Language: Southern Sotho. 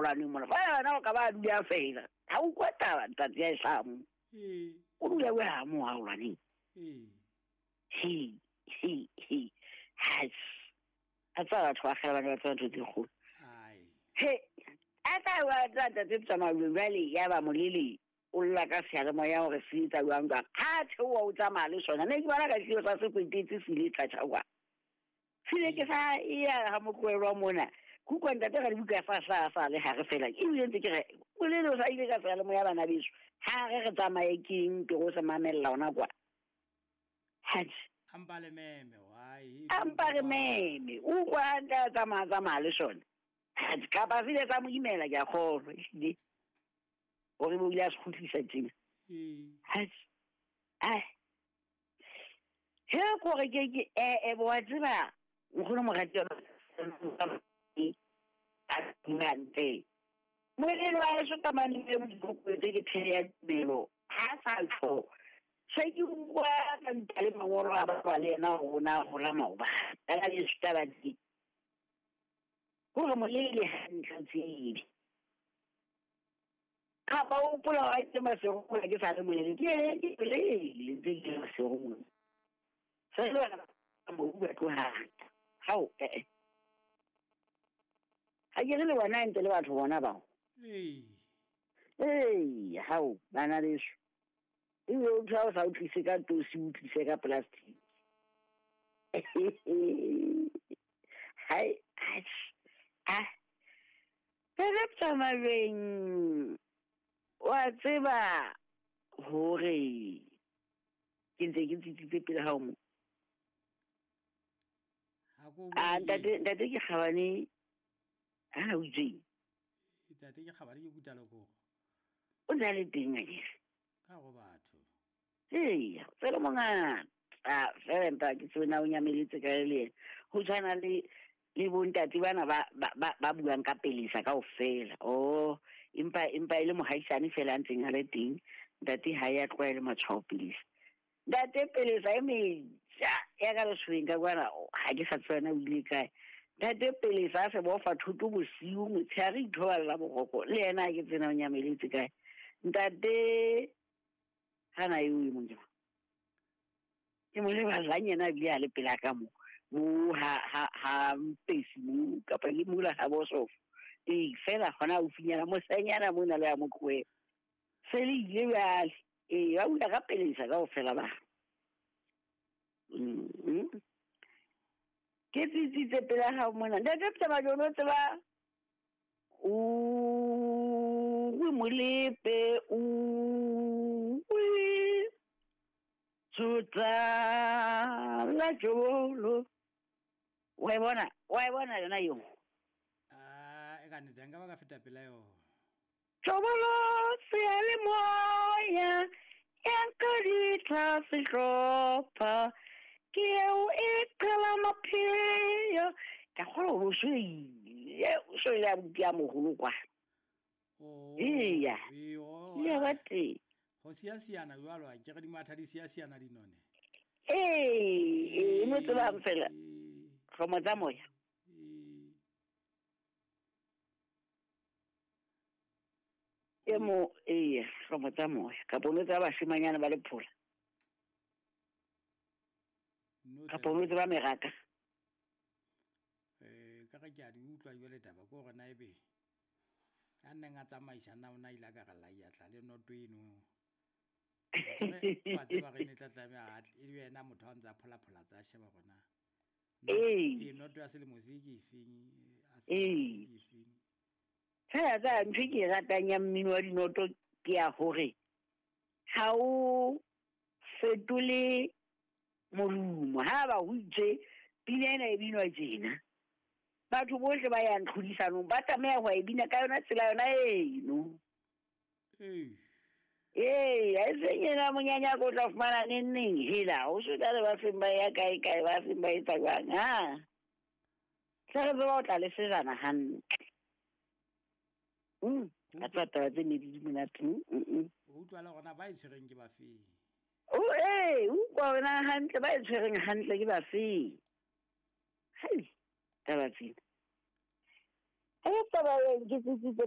mogaolaneng mona fa yona o ka ba a dula fela ga o kwa taba ntate ya e tlhaa mo o dula o ya mo gaolaneng he he he has a tsa batho ba kgale ba ne ba tseba ntho tse kgolo he a tla wa tsa ntate tsamao jale ya ba molele o lla ka seyalemoya gore se etsa jwang jwang ha theoa o tsamaya le sona ne ke bona ka seo sa se kwetetse se ile tlatjha kwa se ile ke sa ya ga motloelwa mona kutlwa ntate ga dibuka sa sa sa le gare fela ebile ntse ke re bolele o sa ile ka seyalemoya bana beso ha re re tsamaye keng ke go se mamelela ona kwa haji ampa le meme why ampa re meme o kwa nta tsamaya tsamaya le sone haji kapa se ile tsa mo imela ke a kgolwa ehlile gore bo ile a se kgutlisa tjena he kore ke ke ee bo wa tseba nkgono morati a molelo wa eso ka mane e mokokobetse ke there ya tumelo ha sa tlo se ke utlwa ka nta le mangolo a ba le yena rona gola maobane ka le setaba di gore molele hantle tsebe kapa o hopola wa itse masego mola ke sa le molele ke ke bolele ntse ke le masego mola se le bana ba mobu ba tlohata hao ee ga ke re le bona ntse le batho bona bao ee hao bana beso ebile o ntho o sa o tlise ka tosi o tlise ka plastic hai a pele tsamaleng wa tseba hore ke ntse ke tsitsitse pele ga o mo a ntate ntate ke gabane ha o itse ntate ke gabane ke kutaloko o na le teng akere ka go batho ee tsela mongata fela empa ke tsena o nyameletse ka le ena go tshwana le le bontate bana ba ba ba buang ka pelesa kaofela oh empa empa e le mohaisane fela a ntseng a le teng ntate ha ya tlwaele matshwao pelesa ntate pelesa e meja ya ka lesweng ka kwana ha ke sa tsena o ile kae ntate pelesa a se bofa thuto bosiu motshehare ithoballa boroko le yena ha ke tsena o nyameletse kae ntate hana eo e mong ke mo leballang yena ebile a le pela ka mo mo ha ha ha mpesi mo kapa ke mola ha bosofo ee fela gona haufinyana mosanyana mona le a mo tlohela se le ile bjale ee ba bula ka pelesa kaofela ba ke tsitsitse pela gago mona ntate Ptamajono o tseba uwe molepe uwe tsotsa la jolo wa e bona wa e bona yona eo a e ka nnete nka ba ka feta pela yona tšobolo seyalemoya ya nkaditla sehlopha ke eo e qela mapheo ka kgolwa gore o so ile o so ile abuti a mogolo kwa Oh, eya ee, oh, ile ba teng go siasiana jalo a kere di matha di siasiana dinone ee e no tsebang fela Ee, hlomo tsa moya ee. e mo ee hlomo tsa moya kapo no tseba bashimanyana ba lephola No kapo no tseba meraka Eh, ka ge ke a di utlwa jale taba ke gore na ebe a nneng a tsamaisa nna o na ile a ka re laia tla le noto eno wa tseba re ne tla tlameha a tle e be yena motho a ntse a pholaphola tsa sheba gona Ee. ee noto ya selemo se ke efeng a selemo se Ee. ke efeng fela tsa ntho e ke e ratang ya mmino wa dinoto ke ya gore ga o fetole morumo ha ba ho itse pina ena e binwa tjena batho bohle ba yang tlhodisanong ba tlameha ho e bina ka yona tsela yona eno ee ee a e seng ena monyanyako o tla fumana neng neng hela o se tla le ba seng ba ya kae kae ba seng ba etsa jwang ha tla re tseba o tla le sejana hantle a tseba taba tse ne di di monate o utlwa le gona ba e tshwereng ke bafeng o ee o utlwa wena hantle ba e tshwereng hantle ke bafeng hai taba tsena e taba eng ke tsitsitse